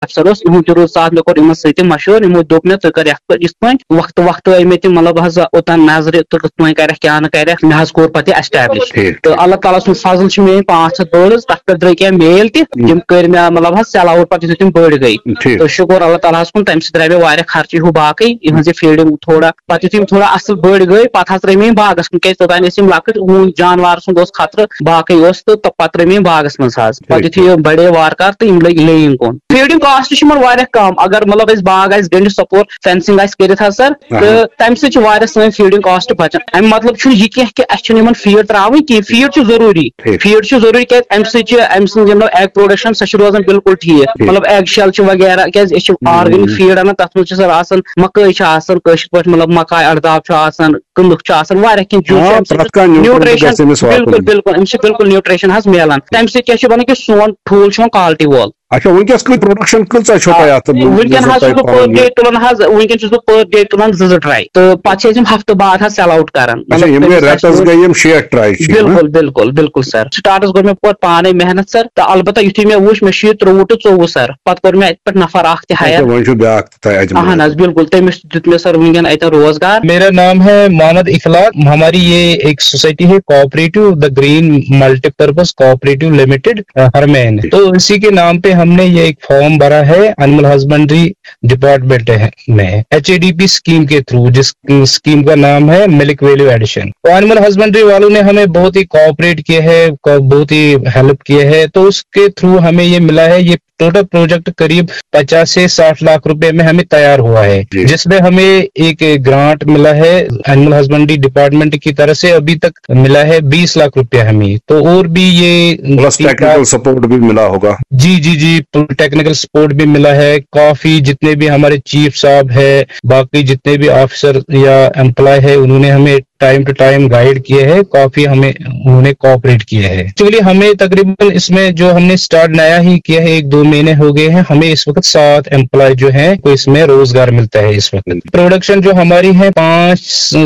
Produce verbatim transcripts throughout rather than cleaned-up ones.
افسر اوس، یِہُنٛد تہِ روٗد ساتھ۔ مےٚ کوٚر یِمن سۭتۍ تہِ مشورٕ، یِمو دوٚپ مےٚ، ژٕ کر یتھ پٲٹھۍ، یِتھ پٲٹھۍ۔ وقتہٕ وقتہٕ آیہِ مےٚ تِم، مطلب، حظ اوٚتام نظرِ، ژٕ کِتھ پٲٹھۍ کرکھ، کیٛاہ نہٕ کرکھ۔ مےٚ حظ کوٚر پتہٕ یہِ establish۔ ٹھیٖک، تہٕ ٹھیٖک۔ اللہ تعالیٰ سُنٛد فضل چھُ، میٲنۍ پانٛژھ ہتھ birds، تتھ پٮ۪ٹھ درٛاے کینٛہہ male تہِ، تِم کٔرۍ مےٚ، مطلب، حظ sell out پتہٕ یُتھُے تِم بٔڑۍ گٔے۔ ٹھیٖک۔ تہٕ شُکر اللہ تعالیٰ ہس کُن، تمہِ سۭتۍ درٛاے مےٚ واریاہ خرچہٕ ہیوٗ باقٕے، یِہٕنٛز یہِ feeding تھوڑا، پتہٕ یُتھُے یِم تھوڑا اصل بٔڑۍ گٔے، پتہٕ حظ ترٲے مےٚ یِم باغس کُن، کیازِ توٚتام ٲسۍ یِم لۄکٕٹۍ، ہوٗن جانوارٕ سُنٛد اوس خطرٕ، باقٕے اوس، تہٕ تہٕ پتہٕ ترٲے مےٚ یِم باغس منٛز حظ۔ پتہٕ یُتھُے یِم بڑے وارٕ کارٕ، تہٕ یِم لٔگۍ laying کُن۔ Feeding cost چھُ یِمن واریاہ کم، اگر، مطلب، اَسہِ باغ آسہِ گٔنٛڈِتھ، suppose fencing آسہِ کٔرِتھ حظ سر، تہٕ تمہِ سۭتۍ چھِ واریاہ سٲنۍ feeding cost بچان۔ اَمہِ مطلب چھُنہٕ یہِ کینٛہہ کہِ اَسہِ چھُنہٕ یِمن feed ترٛاوٕنۍ کینٛہہ، feed چھُ ضروٗری۔ ٹھیٖک۔ Feed چھُ ضروٗری، کیازِ اَمہِ سۭتۍ چھِ، اَمہِ سۭتۍ یِم egg production، سۄ چھِ روزان بالکل ٹھیٖک۔ ٹھیٖک۔ مطلب، egg shell چھِ وغیرہ، کیازِ أسۍ چھِ organic feed اَنان، تَتھ منٛز چھِ سر آسان مکٲے چھِ آسان، کٲشِر پٲٹھۍ، مطلب، مکاے اَرداب چھُ آسان، کٕنٕک چھُ آسان، واریاہ کینٛہہ چیٖز چھِ۔ آ، اَمہِ سۭتۍ پرٛٮ۪تھ کانٛہہ nutrient nutrition، گژھِ أمِس واتُن۔ بالکل، بالکل، اَمہِ سۭتۍ بالکل nutrition حظ میلان۔ تَمہِ سۭتۍ کیٛاہ چھُ بَنان کہِ سون ٹھوٗل چھُ یِوان quality وول۔ اچھا، وٕنکیٚس کۭژ production کۭژاہ چھو تۄہہِ اَتھ، یُس وٕنکیٚن زَن حظ تۄہہِ چھُس بہٕ پَنُن per یہِ؟ day تُلان حظ، وٕنکیٚن چھُس بہٕ per day تُلان زٕ زٕ tray، تہٕ پَتہٕ چھِ أسۍ یِم ہفتہٕ بعد حظ sell out کران۔ اچھا، مطلب، یِم گٔے تٔمِس آسہِ رٮ۪تَس یِوان گٔے یِم شیٹھ tray چھِ، ہاں؟ بالکل، بالکل، بالکل سر۔ Startس کوٚر مےٚ پَتہٕ پانے محنت سر، تہٕ البتہ یُتھُے مےٚ وُچھ، مےٚ چھُ یہِ ترٛوٚوُہ to ژوٚوُہ سر، پَتہٕ کوٚر مےٚ اَتہِ پٮ۪ٹھ نفر اکھ تہِ اچھا، hire۔ وۄنۍ چھُ بیٛاکھ تہِ تۄہہِ اجمیر۔ اہن حظ، بالکل، تٔمِس تہِ دیُت مےٚ سر وٕنکیٚن اَتٮ۪ن روزگار۔ मेरा नाम है मोहम्मद इखलाक। हमारी ये एक सोसाइटी है, cooperative the green multipurpose cooperative limited, Harman. तो इसी के नाम पे हमने ये एक फॉर्म भरा है एनिमल हस्बेंड्री डिपार्टमेंट है, में एचएडीपी स्कीम के थ्रू, जिस स्कीम का नाम है मिल्क वैल्यू एडिशन। तो एनिमल हस्बेंड्री वालों ने हमें बहुत ही कोऑपरेट किया है, को- बहुत ही हेल्प किया है। तो उसके थ्रू हमें ये मिला है, ये टोटल प्रोजेक्ट करीब पचास से साठ लाख रुपए में हमें तैयार हुआ है, जी। जिसमें हमें एक ग्रांट मिला है एनिमल हस्बेंड्री डिपार्टमेंट की तरफ से, अभी तक मिला है बीस लाख रुपया हमें। तो और भी ये प्लस टेक्निकल सपोर्ट भी मिला होगा। जी जी जी, टेक्निकल सपोर्ट भी मिला है। काफी जितने भी हमारे चीफ साहब है, बाकी जितने भी ऑफिसर या एम्प्लॉय है, उन्होंने हमें टाइम टू टाइम गाइड किए हैं, काफी हमें उन्होंने कोऑपरेट किया है। एक्चुअली हमें तकरीबन इसमें जो हमने स्टार्ट नया ही किया है, एक दो महीने हो गए हैं, हमें इस वक्त सात एम्प्लॉय जो हैं, को इसमें रोजगार मिलता है इस वक्त। प्रोडक्शन जो हमारी है, पाँच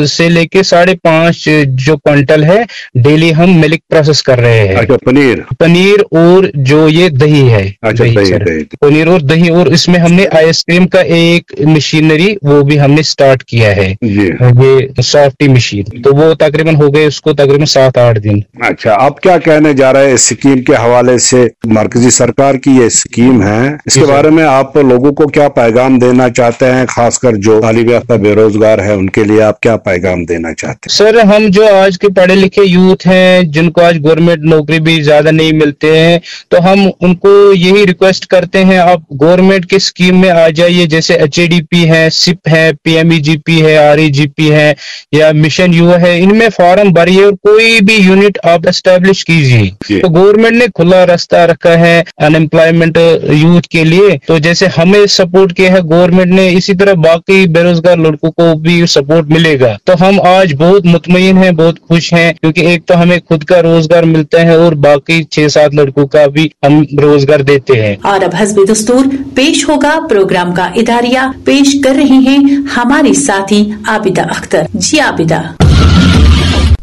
से लेके साढ़े पाँच जो क्विंटल है, डेली हम मिल्क प्रोसेस कर रहे हैं। अच्छा, पनीर। पनीर और जो ये दही है, अच्छा, दही, दही, सर। दही। पनीर और दही, और इसमें हमने आइसक्रीम का एक मशीनरी, वो भी हमने स्टार्ट किया है, जी। ये सॉफ्टी मशीन। तो वो तकरीबन हो गए उसको तकरीबन सात आठ दिन। अच्छा, आप क्या कहने जा रहे हैं इस स्कीम के हवाले से? मरकजी सरकार की ये स्कीम है, इसके जी, सर। बारे में आप लोगों को क्या पैगाम देना चाहते हैं, खासकर जो तालिब याफ्ता बेरोजगार है, उनके लिए आप क्या पैगाम देना चाहते हैं? सर, हम जो आज के पढ़े लिखे यूथ हैं, जिनको आज गवर्नमेंट नौकरी भी ज्यादा नहीं मिलते हैं, तो हम उनको यही रिक्वेस्ट करते हैं, आप गवर्नमेंट की स्कीम में आ जाइए। जैसे एचएडीपी है, सिप है, पीएमईजीपी है, आरईजीपी है, या मिशन युवा है, इनमें फॉर्म भरिए और कोई भी यूनिट आप एस्टैब्लिश कीजिए। जी। तो गवर्नमेंट ने खुला रास्ता रखा है अनएम्प्लॉयमेंट यूथ के लिए। तो जैसे हमें सपोर्ट किया है गवर्नमेंट ने, इसी तरह बाकी बेरोजगार लड़कों को भी सपोर्ट मिलेगा। तो हम आज बहुत मुतमईन हैं, बहुत खुश हैं, क्योंकि एक तो हमें खुद का रोजगार मिलता है और बाकी छह सात लड़कों का भी हम रोजगार देते हैं। और अब हस्ब दस्तूर पेश होगा प्रोग्राम का इदारिया। पेश कर रही हैं हमारी साथी आबिदा अख्तर। जी आबिदा।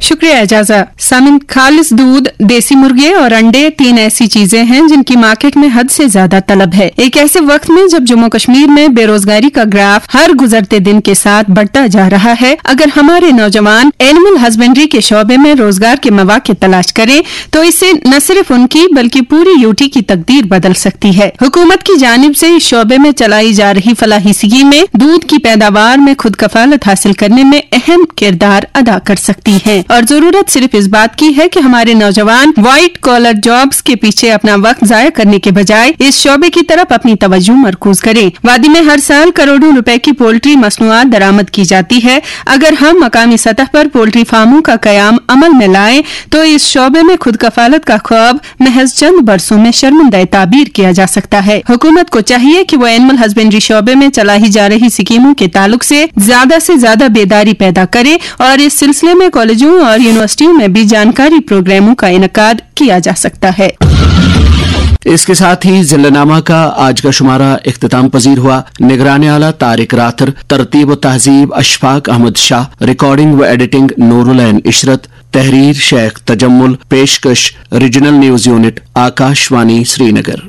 शुक्रिया एजाजा। सामिन, खालिस दूध, देसी मुर्गे और अंडे तीन ऐसी चीजें हैं जिनकी मार्केट में हद से ज्यादा तलब है। एक ऐसे वक्त में जब जम्मू कश्मीर में बेरोजगारी का ग्राफ हर गुजरते दिन के साथ बढ़ता जा रहा है, अगर हमारे नौजवान एनिमल हस्बेंड्री के शोबे में रोजगार के मौके तलाश करें तो इससे न सिर्फ उनकी बल्कि पूरी यूटी की तकदीर बदल सकती है। हुकूमत की जानिब से इस शोबे में चलाई जा रही फलाही स्कीमें दूध की पैदावार में खुद कफालत हासिल करने में अहम किरदार अदा कर सकती हैं और जरूरत सिर्फ इस बात की है कि हमारे नौजवान व्हाइट कॉलर जॉब्स के पीछे अपना वक्त जाया करने के बजाय इस शोबे की तरफ अपनी तवज्जो मरकूज करें। वादी में हर साल करोड़ों रुपए की पोल्ट्री मसनूआत दरामद की जाती है। अगर हम मकामी सतह पर पोल्ट्री फार्मों का कयाम अमल में लाएं तो इस शोबे में खुद कफालत का ख्वाब महज चंद बरसों में शर्मिंदा ताबीर किया जा सकता है। हुकूमत को चाहिए कि वो एनिमल हस्बेंड्री शोबे में चलाई जा रही स्कीमों के ताल्लुक से ज्यादा से ज्यादा बेदारी पैदा करे और इस सिलसिले में कॉलेजों और यूनिवर्सिटियों में भी जानकारी प्रोग्रामों का इनकाद किया जा सकता है। इसके साथ ही जिल्लानामा का आज का शुमारा इख्तिताम पजीर हुआ। निगरान आला तारिक राथर, तरतीब व तहजीब अशफाक अहमद शाह, रिकॉर्डिंग व एडिटिंग नूरुलैन इशरत, तहरीर शेख तजम्मुल, पेशकश regional news unit, Akashvani Srinagar.